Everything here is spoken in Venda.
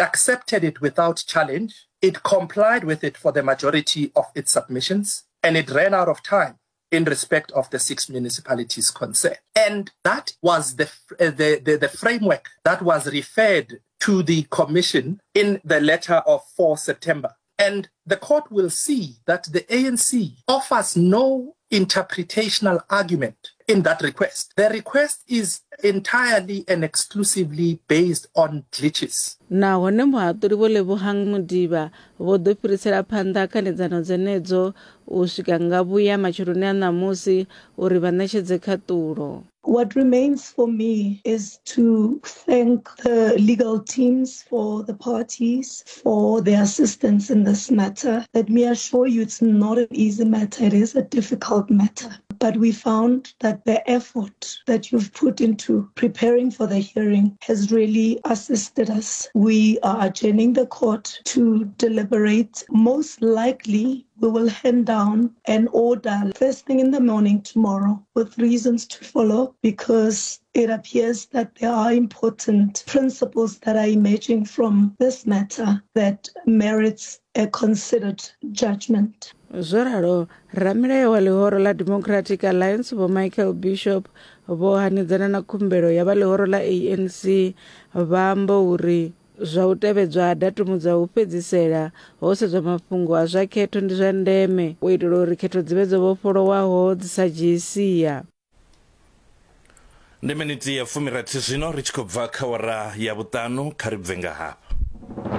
It accepted it without challenge. It complied with it for the majority of its submissions, and it ran out of time in respect of the six municipalities concerned. And that was the, uh, the, the, the framework that was referred to the commission in the letter of 4 September. And the court will see that the ANC offers no interpretational argument in that request. The request is entirely and exclusively based on glitches. Nahone muhaṱuli Vho Lebogang Modiba vho ḓo fhirisela phanḓa khanedzano dzenedzo u swika nga vhuya matsheloni a ṋamusi uri vha ṋetshedze khaṱulo. What remains for me is to thank the legal teams for the parties for their assistance in this matter. Let me assure you it's not an easy matter, it is a difficult matter. But we found that the effort that you've put into preparing for the hearing has really assisted us. We are adjourning the court to deliberate. Most likely, we will hand down an order first thing in the morning tomorrow with reasons to follow because it appears that there are important principles that are emerging from this matter that merits a considered judgment. Zwo ralo, ramilayo wa ḽihoro ḽa Democratic Alliance Vho Michael Bishop vho hanedzana na khumbelo ya vha ḽihoro ḽa ANC vha amba uri Zwa u tevhedzwa ha datumu dza u fhedzisela ho sedzwa mafhungo a zwa khetho ndi zwa ndeme u itela uri khetho dzi vhe dzo vhofholowaho dzi sa dzhii sia. Ndi miniti ya fumirathi zwino ri tshi khou bva kha wara ya vhuṱanu kha ri bve nga hafha.